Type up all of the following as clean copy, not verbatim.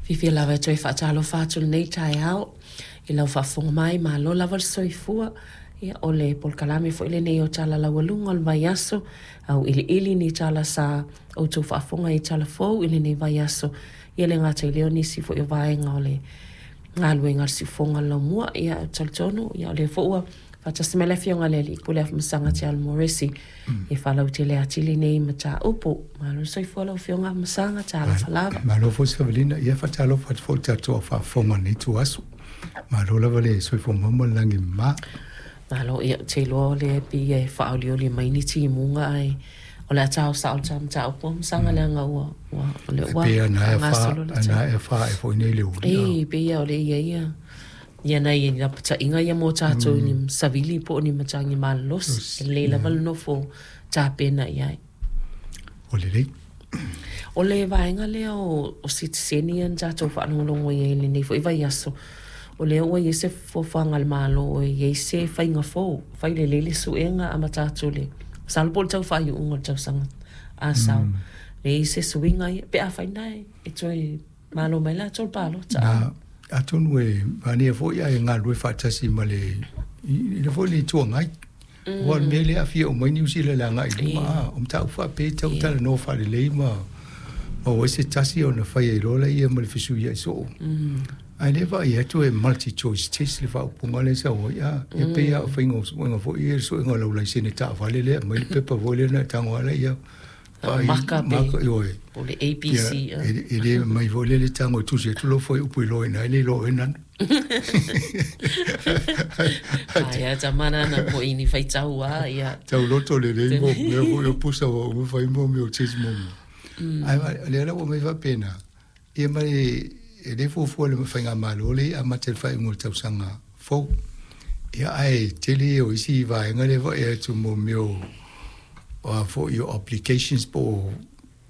Fiafia lava e toe faatalofa atu i lenei taeao i lau faafofoga mai, malo lava le soifua. Ia, o le polokalame foi lenei o Tala Laualuga o le vaiaso, auiliili ni tala sa outou faafofoga i tala fou i lenei vaiaso. Ia le gata i lea o nisi foi o vaega o le galuega a le siufofoga o le laumua. Ia, ou te talitonu, ia, o lea foi ua faatasi mai le Afioga i le Alii Pule Afamasaga Tialo Moresi e faalautele atili nei mataupu. Malo le soifua lau Afioga Afamasaga, talofa lava. Malo foi Savelina, ia faatalofa atu foi i le tatou au faafofoga i lenei ituaso. Malo lava le soifua maua ma le lagi mama. Malo, ia ou te iloa o lea e pei e faaolioli mai ni timuga ae o le a tao sao le ta mataupu Afamasaga leaga ua ua o lea ua Pei ana e fa, gasolo le ana e fa e foi nei le uli. Ei, pei o lea e i ai ia ia nai lapataiga ia mo tatou i ni savili po o ni matagi malolosi. E lelei lava le nofo tapena i ai. Ua lelei. O le vaega lea o sitiseni ia na tatou faalogologo i ai i lenei foi vaiaso, o lea ua i ai se fuafuaga a le Malo e i ai se faiga fou, fai lelei le suega amata atu i le, masalo po o le tau faaiuga o le tausaga a sau, e i ai se suiga ia, pe afai na e toe malo mai latou i le palota. Na, atonu e manaia foi ae galulue faatasi ma le i le foi le Itu Agai. Aua o le mea lea e aafia uma ai Niu Sila i le agai i luma, a o mataupu faapea e tatau ona talanoa faalelei ma maua ai se tasi ona fai ai loa lea ma le fesuiai soo. Ae lea e vaai atu e multi choice test le faaupuga lea e sau ai, a e pei lava o faiga o suega foi ia, le suega o lau laisene taavale lea e aumai le pepa foi lea ona e tago lava lea vaai maka pe maka, ioe. Po o le ABC. Ia, e le mai foi lea le tago e tusi atu lou fuaiupu i loa i ina e le iloa oe nanu. Ai a tamana na po i ni faitau a ia. Tau loto lelei mo mea foi o pusa ua uma fai mo mea o test mo mo. Ai lea la ua mai faapena, ia ma e le fuafua le faigamalo lea e amata i le faaiuga o le tausaga fou. Ia ae tele ia o isi vaega lea e vaai atu mo mea o o a foi o obligations po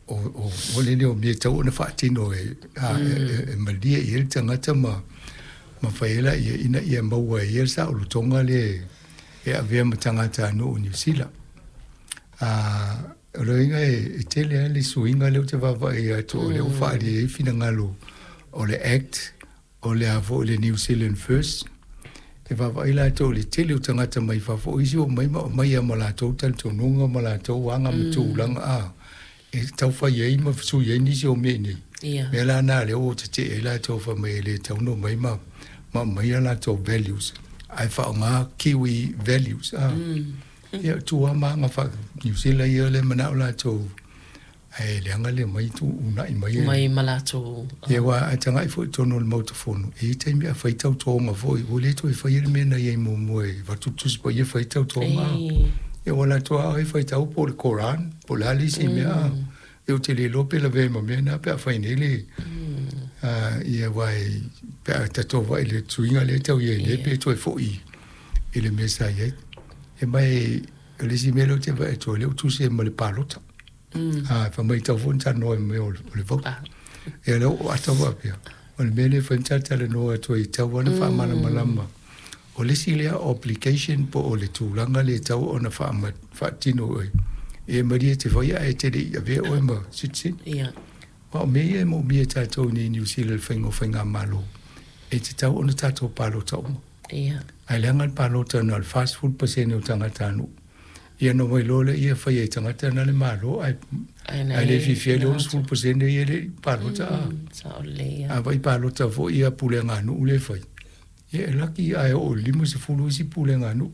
o o le o mea e tatau ona faatino e e malie i ai le tagata ma ma fai ai laia ina ia maua e ia le saolotoga lea e avea ma tagatanuu o Niu Sila. O le uiga e tele lava le suiga lea ou te vaavaai atu o lea ua faaalia ai finagalo o le Act o le a foi le New Zealand First. E vaavaai latou i le tele o tagata mai fafo, o isi ua omai ma aumai lava ma latou talitonuga ma latou aga ma tulaga a e tau fai ai ma sui ai nisi o mea i inei. Ia. Mea la na lea ua tetee ai latou fai mai e le tatau ona omai ma ma aumai a latou values ae faaaoga Kiwi values a. Ia, tu lava ma aga faa-Niu Sila ia lea e manao latou ae leaga le omai uunai mai e. Mai ma latou. Ia aua a tagai foi i totonu o le Maota Fono, e i ai taimi a fai tautoga foi, ua le toe faia le mea na i ai muamua e avatu le Tusi Paia fai tautoga. Ia ua latou lava e faitau po o le Koran, po o le a le isi mea. Ia ou te le iloa pe lavea ai ma mea na pe a fai nei le ia aua pe a tatou vaai i le suiga lea e tau i ai nei pe toe foi i le mea sa i ai. E mai o le isi mea lea ou te vaai atu ai, lea ua tusi ai ma le palota. A, fai mai tatau foi ona talanoa i mea o le vote. Ia lea ua ata faapea, o le mea lea e fai ma talatalanoa atu ai e tatau lava ona faamalamalama. O le isi lea obligation po o le tulaga lea e tatau ona faatino e e malie e te faia ae te le i avea oe ma citizen. Ia. Aua o mea ia e moomia e tatou i nei i Niu Sila i le faiga o faigamalo, e tatau ona tatou palota uma. Ia. Ae leaga le palota na o le 40% o tagatanuu. Ia ona omai loa lea fai e tagata na le Malo ae ae le fiafia ai le 60% ia e le i palota. Sao lelei ia. A vai palota foi ia pulega a nuu lea e fai, ia e laki ae oo i le 50 isi pulega a nuu.